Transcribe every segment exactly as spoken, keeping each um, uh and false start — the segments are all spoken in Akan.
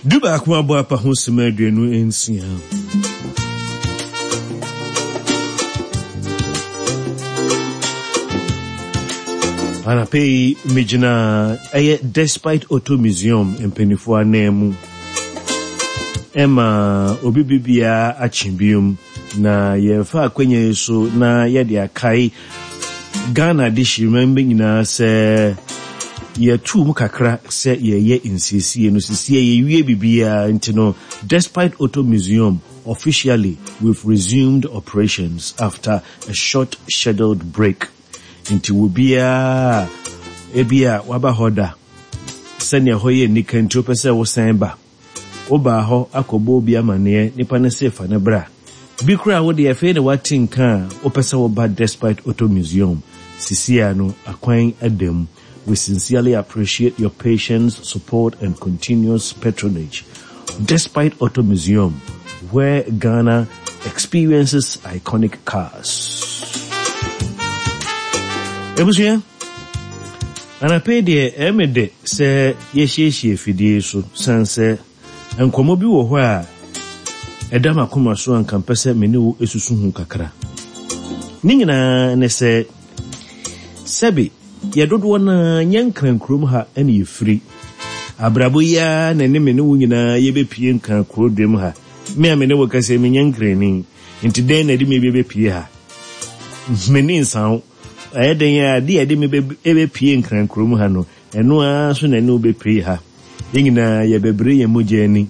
Du baako abɔ apa ho sima aduonu nsia. Anapa yi megyina ɛyɛ Despite Auto Museum mpanimfoɔ anan mu. Ɛma obi bibiara akye biom na yɛfa akwanya yi so na yɛde akae Ghana de hyirima bi nyinaa sɛ yɛtu mu kakra sɛ yɛyɛ nsiesie no sisie yɛwie biribiara nti no Despite Auto Museum officially we've resumed operations after a short scheduled break. Nti wo biara ebi a waba hɔ da sɛnea hɔ yɛ nika nti wopɛ sɛ wosan ba wobaa hɔ akɔbɔ obi amanneɛ nipa no se fa ne bra bi koraa wode afei na wate nka a wopɛ sɛ woba Despite Auto Museum sisia no akwan adam. We sincerely appreciate your patience, support, and continuous patronage. Despite Auto Museum, where Ghana experiences iconic cars. Ebusua, anapɛ deɛ ɛmɛ de sɛ yɛhyiahyia fidie so san sɛ nkɔmmɔ bi wɔ hɔ a ɛda m'akoma so anka mpɛ sɛ me ne wo esusu ho kakra. Ne nyinaa ne sɛ sɛbi yɛ dodoɔ naa nyɛ nkran kurom ha ɛna yɛfiri. Abrabɔ yi ara na ne me ne wo nyinaa yɛbɛpie nkran kuro dwam ha. Me a me ne wo kasa menyɛ nkrani. Nti dɛn na ɛde me bɛbɛpie ha? Me ne nsan ɛyɛ dɛn a adeɛ a ɛde me bɛpie nkran kurom ha no ɛno ara so na ɛne wo bɛpie ha. Yɛn nyinaa yɛbɛbrɛ yɛn mogya ani.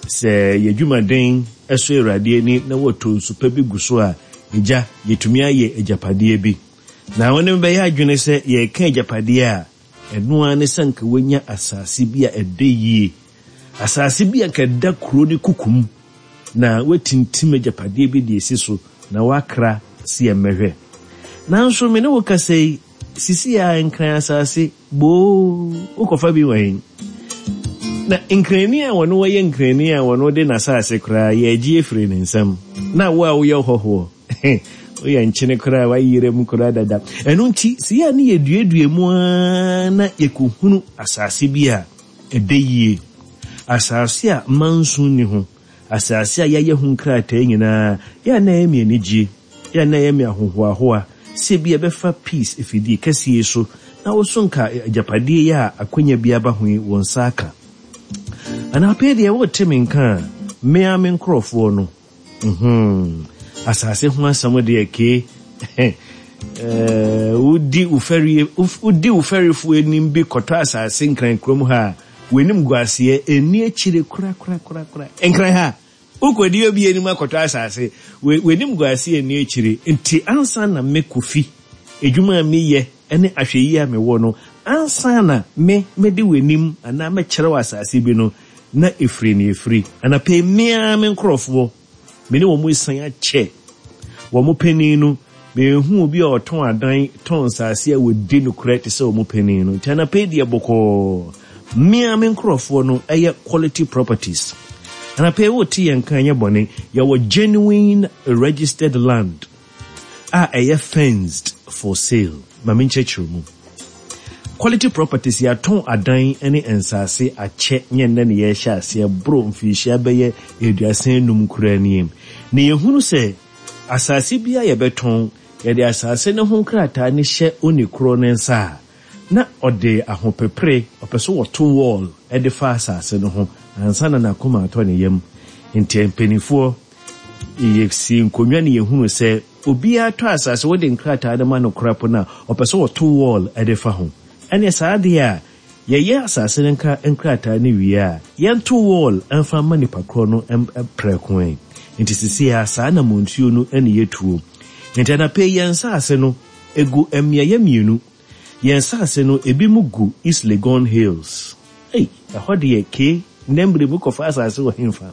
Sɛ yɛdwumaden ɛso Awurade ani na wɔtɔ nsu pa bi gu so a agya yɛtumi ayɛ agyapadeɛ bi. Na wɔne bɛyɛ adwene sɛ yɛreka agyapadeɛ a ɛno ara ne sɛ nka woanya asase bi a ɛdɛ yie. Asase bi a nka ɛda kuro ne kukum na woatintim agyapadeɛ bi de esi so na woakra si ɛmmɛhwɛ. Nanso me ne wo kasa yi, sisi a nkran asase boo wokɔfa bi wɔ he? Na nkrani a wɔno wɔyɛ nkrani a wɔno de n'asase koraa yɛagye afiri ne nsam. Na wo a woyɛ hɔhoɔ woyɛ nkyene koraa wayerɛ mu koraa dada. Ɛno nti sɛ yɛ a ne yɛduadua mu ara na yɛkɔhunu asase bi a ɛdɛ yie. Asase a manso nni ho. Asase a yɛayɛ ho nkrataa nyinaa yɛ a na ɛyɛ me anigye. Yɛ a na ɛyɛ me ahohoahoa sɛ bi a ɛbɛfa peace efidie kɛseɛ so na wo so nka agyapadeɛ yi a akwanya bi aba ho yi wɔn nsa aka. Anapɛ deɛ wote me nka a mmea me nkurɔfoɔ no mhm asase ho asɛm deɛ kee ɛɛ wodi wo fɛrie wodi wo fɛrifoɔ anim bi kɔtɔ asase nkran kurom ha a w'anim gu aseɛ ɛni akyire kora kora kora kora nkran ha wokɔdi obi anim akɔtɔ asase w'anim gu aseɛ ɛni akyire nti ansa na me Kofi edwuma a meyɛ ɛne ahwɛyie a mewɔ no ansa na me mede w'anim anaa mɛkyerɛ wɔ asase bi no na efiri ne efiri anapɛ mmea me nkurɔfoɔ me ne wɔn esan akyɛ wɔn panin no mehu obi a ɔtɔn adan tɔn nsase a wɔdi nokorɛ te sɛ wɔn panin no nti anapɛ deɛ bɔkɔɔ mmea me nkurɔfoɔ no ɛyɛ quality properties anapɛ wɔte yɛn kan nyɛ bɔne yɛwɔ genuine registered land a ɛyɛ fenced for sale ma me nkyerɛkyerɛ mu quality properties yɛatɔn adan ne nsase akyɛ nyɛ nnɛ ne yɛrehyɛ aseɛ boro mfirihyia bɛyɛ aduasa enum koraa nie na yɛhunu sɛ asase bi a yɛbɛtɔn yɛde asase no ho nkrataa ne hyɛ oni korɔ ne nsa a na ɔde ahopepere ɔpɛ so wɔto wall de fa asase no ho ansa na n'akoma atɔ ne yam nti mpanimfoɔ yɛsi nkonnwa ne yɛhunu sɛ obiara tɔ asase wode nkrataa no ma no kora po no a ɔpɛ sɛ wɔto wall de fa ho ɛne saa adeɛ a yɛyɛ asase no nkra nkrataa no wie a yɛnto wall mfa ma nipa korɔ no prɛko ɛ nti sisi a saa na montuo no ne yɛtuo nti anapɛ yɛn nsase no egu mmeayɛ mmienu yɛn nsase no ebi mu gu East Legon Hills ei ɛhɔ deɛ ke nnɛ mmere mu kɔfa asase wɔ hemfa